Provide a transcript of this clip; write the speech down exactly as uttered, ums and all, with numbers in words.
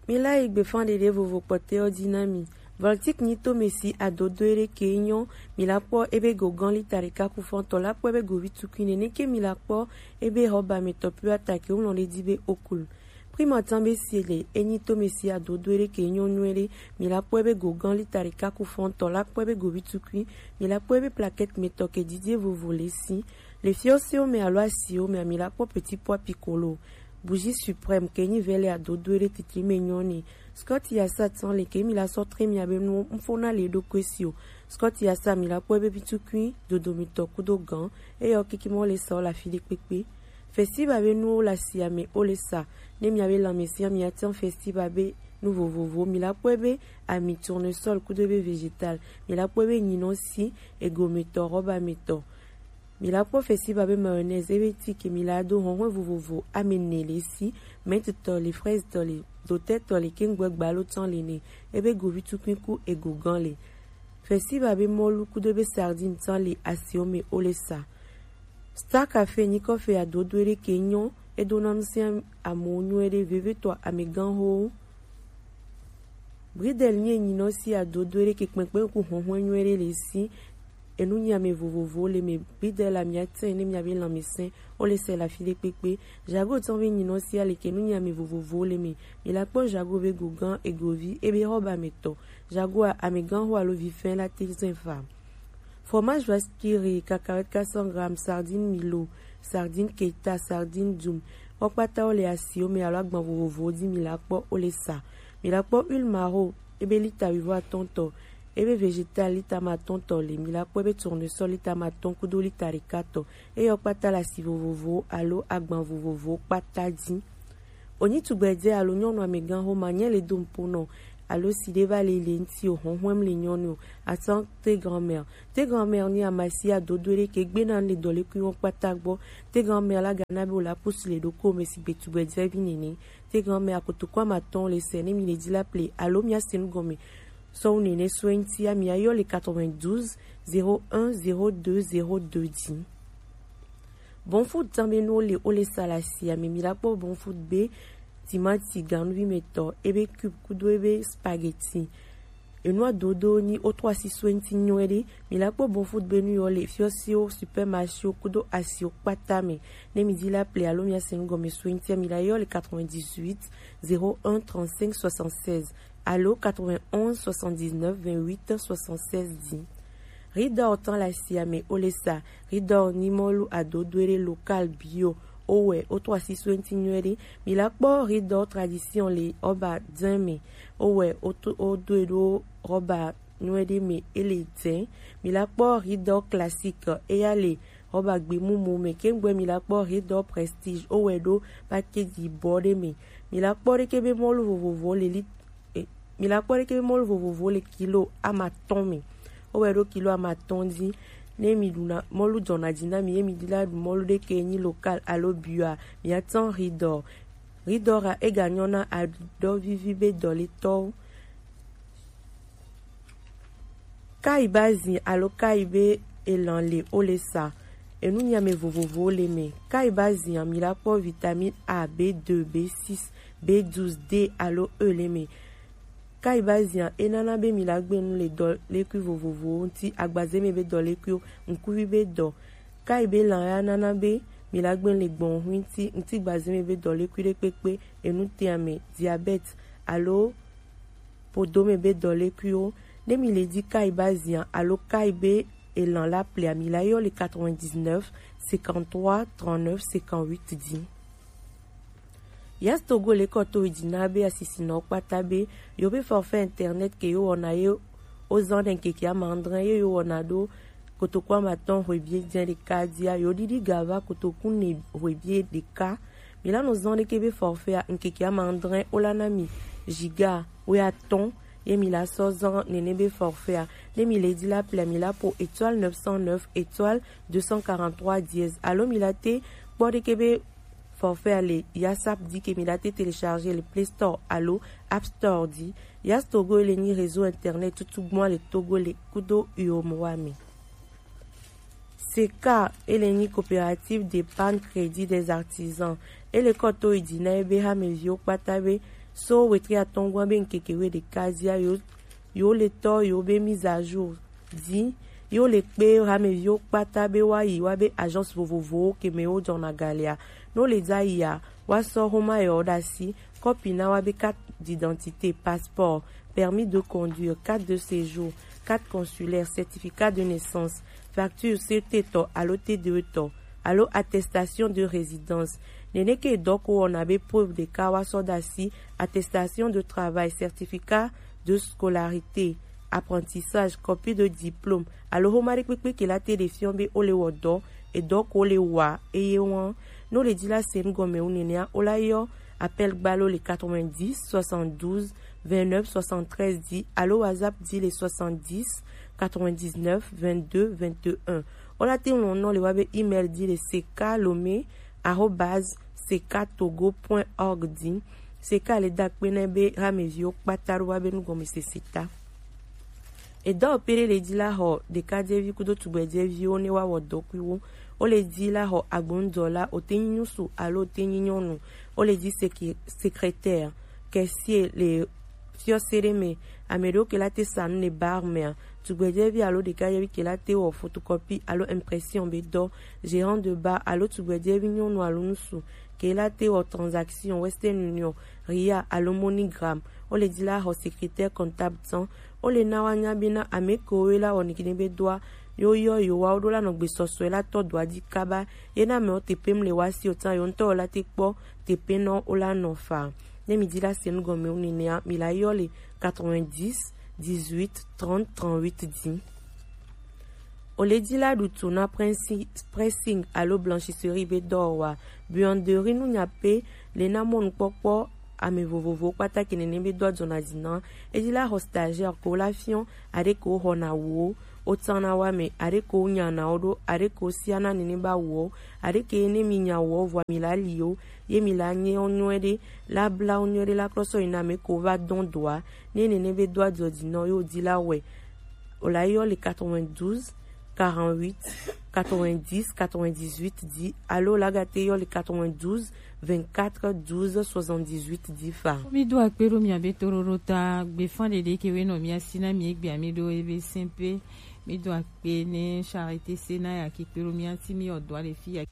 Mi la yi gbefanɖeɖe vovo kpɔtɛwo ji na mi. Voltic nyi to mi si adodo eɖe ke nyɔ, mi la kpɔ ebe go gan lita ɖeka ku fɔntɔ la kpɔ ebe go vi tukui nene ke mi la kpɔ ebe hɔba mi tɔ pio ata ke wlɔ ɖe ji be okul. Prima tan be si le enyi to mi si adodo eɖe ke nyɔ nyuie ɖe, mi la kpɔ ebe go gan lita ɖeka ku fɔntɔ la kpɔ ebe go vi tukui, mi la kpɔ ebe plaquette mi tɔ ke jijie vovo le si. Le fiɔ siwo me alo asiwo me mi la kpɔ petit pois piccolo. Bougie suprême ke nyi vɛlɛ adodo eɖe titli me nyɔ ni. Scott yasa tan le ke mi la sɔ tre mi abe nu mfo na le ɖo kwe si o. Scott yasa mi la kpɔ ebe pitukui dodo mi tɔ kudo gan. Eyɔ kiki mɔ le sa o la fi ɖe kpekpe. Festival be nuwo la si ame o le sa. Ne mi abe lanmɛsia mi atan festival be nu vovovo mi la kpɔ ebe ami tournesol kudo ebe végétal. Mi la kpɔ ebe nyinɔ si ego mi tɔ rɔba mi tɔ. Mi la kpɔ festival be mayonnaise ebe ti ke mi la do hɔnhɔn vovovo ame ne le si, menthe tɔ le, fraise tɔ le, dotɛ tɔ le, kengbe gbalo tan le ne, ebe govi tukui ku ego gan le. Festival be mɔlu kudo ebe sardine tan le asiwo me o le sa. Star Café nyi kɔfe adodo eɖe ke nyɔ, edo na nu sia amewo nyuie ɖe veve tɔ ameganxowo. Bridel nyi enyinɔ si adodo eɖe ke kpɛnkpɛn ku hɔnhɔn nyuie ɖe le si. Enu nyi ame vovovowo le me. Bridel la mi atɛn ne mi abe lanmɛsɛn o le sɛ la fi ɖe kpekpe. Jago tɔn be nyinɔ si ale ke enu nyi ame vovovowo le me. Mi la kpɔ jago be gogan egovi ebe hɔba me tɔ. Jago a ameganxo alo vifɛn la te zɛn fa. Fromage vaskiri, cacahuète quatre cents grammes, sardine milo, sardine keta, sardine dum. Wo kpata wo le asiwo me alo agban vovovowo ji mi la kpɔ o le sa. Mi la kpɔ huile maro ebe lita wivo atɔn tɔ, ebe végétal lita ma atɔn tɔ le, mi la kpɔ ebe tournesol lita ma atɔn kudo lita ɖeka tɔ. Eyɔ kpata le asi vovovowo alo agban vovovowo kpata ji. Onyi tugbɛjɛ alo nyɔnu ameganxo ma nyɛ le do nupo nɔ alo si ɖe va le le ŋuti o, hɔnhɔn le nyɔnu o. Atan te grand-mère. Te grand-mère ni amasi adodo ɖe ke gbe na le dɔlekui wo kpata gbɔ. Te grand-mère la gana be o la pusu le ɖoko me si gbe tugbɛjɛ vi nene. Te grand-mère akotoko amatɔn le sɛ ne mi le ji la ple alo mi ase nu gɔme. Sɔwu nene so eŋuti ami ayɔ le quatre-vingt-douze zéro un zéro deux zéro deux ji. Bon food tan be nuwo le o le sa le asi ame mi la kpɔ bon food be timati ganuvi me tɔ ebe cube kudo ebe spaghetti. Enua dodo ni o trɔ asi so eŋuti nyuie ɖe. Mi la kpɔ bon food be nu yɔ le fiɔsiwo, supermarchéwo kudo asiwo kpata me. Ne mi ji la ple alo mi ase nu gɔme so eŋuti mi la yɔ le quatre-vingt-dix-huit zéro un trente-cinq soixante-seize alo quatre-vingt-onze soixante-dix-neuf vingt-huit soixante-seize ji. Ridɔ tan le asi ame o le sa. Ridɔ ni mɔlu adodo ɖe local bio. O wɛ o trɔ asi so eŋuti nyuie ɖe. Mi la kpɔ ridɔ tradition le ɔba dɛn me. O wɛ o to o do e ɖo rɔba nyuie ɖe me e le dɛn. Mi la kpɔ ridɔ classique eya le rɔba gbemumu me. Kengbe mi la kpɔ ridɔ prestige o wɛ ɖo package yibɔ ɖe me. Mi la kpɔ ɖe ke be mɔlu vovovo le li e, mi la kpɔ ɖe ke be mɔlu vovovo le kilo amatɔn me. O wɛ ɖo kilo amatɔn ji. Ne mi ɖuna mɔlu jɔna ji na mi ye mi di la ɖu mɔlu ɖe ke nyi local alo bio a, mi atan ridɔ. Ridɔ ra e ga nyɔ na aɖɔ vivi be dɔletɔwo. Kai ba zin alo kai be elan le o le sa. Enu nyi ame vovovowo le me. Kai ba zin mi la kpɔ vitamine A, B deux, B six, B douze, D alo E le me. Kai ba zin e nana be mi la gbe nu le dɔlekui vovovowo ŋuti, agbaze me be dɔlekuiwo, ŋkuvi be dɔ. Kai be lan ya nana be mi la gbe nu le gbɔn ŋui ŋuti, ŋuti gbaze me be dɔlekui ɖe kpekpe, enu te ame, diabète alo podome be dɔlekuiwo. Ne mi le di kai ba zia alo kai be elan la plea, mi la yɔ le quatre-vingt-dix-neuf cinquante-trois trente-neuf cinquante-huit di. Yas Togo le kɔ to yi di na be asisinɔ kpata be yo be forfait internet ke yo wɔna ye o zan ɖe ŋkeke amandrɛ ye yo wɔna ɖo kotoku amatɔn hwebie jɛn ɖeka dia, yo ɖiɖi ga va kotoku ne hwebie ɖeka. Mi la nɔ zɔn ɖeke be forfait a, ŋkeke amadrɛ o la na mi giga woe atɔn ye mi la sɔ zɔn nene be forfait a. Ne mi le di la plea, mi la po étoile neuf cent neuf étoile deux cent quarante-trois dièse alo mi la te kpɔ ɖeke be forfait a le Yasap di ke mi la te télécharger le Play Store alo App Store di. Yas Togo le nyi réseau internet tutu gbɔn le Togo le kudo U O M O A me. Seka, ele nyi coopérative d'épargne crédit des artisans. Ele kɔ to yi di na ebe hameviwo kpata be So wetri atɔngua be ŋkeke we ɖeka zia yo yo le tɔ yo be mise à jour di yo le kpe hameviwo kpata be wa yi wa be agence vovovowo ke me wo jɔna galia. No le dza yia wa sɔ homa yɔ ɖasi kɔpi na wa be carte d'identité, passeport, permis de conduire, carte de séjour, carte consulaire, certificat de naissance, facture C T tɔ alo T D E tɔ alo attestation de résidence. Nene ke dɔ ko wɔna be preuve ɖeka wa sɔ ɖasi attestation de travail, certificat de scolarité, apprentissage, copie de diplôme alo homa ɖekpekpe ke la te ɖe fiɔ be o le wɔ dɔ edɔ ko le wa eye wɔn. No le di la se nu gɔme wu nenea o la yɔ appel gbalo le quatre-vingt-dix soixante-douze vingt-neuf soixante-treize di alo WhatsApp di le soixante-dix quatre-vingt-dix-neuf vingt-deux vingt-et-un. O la te ŋlɔ nɔ le wa be email di le seka lome arobase seka togo point org di. Seka le da kpe nɛ be hameviwo kpata ɖo wa be nugɔmesese ta. Edɔ pere le di la xɔ ɖekadzevi kudo tugbɛdzeviwo ne wa wɔ dɔkuiwo. O le di la xɔ agbondɔla o te nyi nyusu alo o te nyi nyɔnu. O le di seke- secrétaire, caissier le fiɔse ɖe me, ame ɖewo ke la te sa nu le bar mea. Tugbɛdzevi alo ɖekadzevi ke la te wɔ photocopie alo impression be dɔ, gérant de bar alo tugbɛdzevi nyɔnu alo ŋutsu ke la te wɔ transaction Western Union, Ria alo MoneyGram. O le di la xɔ secrétaire comptable tɔn. O le na wa nya be na ame kewo la wɔ nigine be dɔa yo yɔ yo wa wo ɖo la nɔ gbesɔsɔe la tɔ dɔa di kaba. Ye na amewo teƒem le wa si o tã yo ŋutɔ la te kpɔ teƒe nɔ o la nɔ fa. Ne mi di la se nu gɔme o nenea mi la yɔ le quatre-vingt-dix dix-huit trente trente-huit di. O le di la ɖu tu na pressing alo blanchisserie be dɔwɔwa. Buanderie nu nya pe le na mɔnukpɔkpɔ ame vovovowo kpata ke nene be dɔ dzɔna dzi na. Edi la xɔ stagiaire ko la fiɔ aɖe ko xɔna wo o tana wa me aɖe ko nyana wo ɖo aɖe ko siana nene ba wo aɖe ke ne mi nya wo vɔ mi la li o ye mi la nye nyɔe ɖe la bla nyɔe ɖe la klɔsɔ yi na me ko va dɔn doa ne nene be dɔ adzɔ dzi na yo di la wɛ. O la yɔ le quatre-vingt-douze quarante-huit quatre-vingt-dix quatre-vingt-dix-huit di alo la gate yɔ le quatre-vingt-douze vingt-quatre douze soixante-dix-huit di fa. Mi do akpe ɖo mia be toɖoɖo ta gbefa ɖeɖe ke we nɔ mia si na mi egbe ami ɖo ebe sɛn pe. Mi do akpe ne charité se na ya ki kpe ɖo mia ti mi ɔdɔ ale fi ya.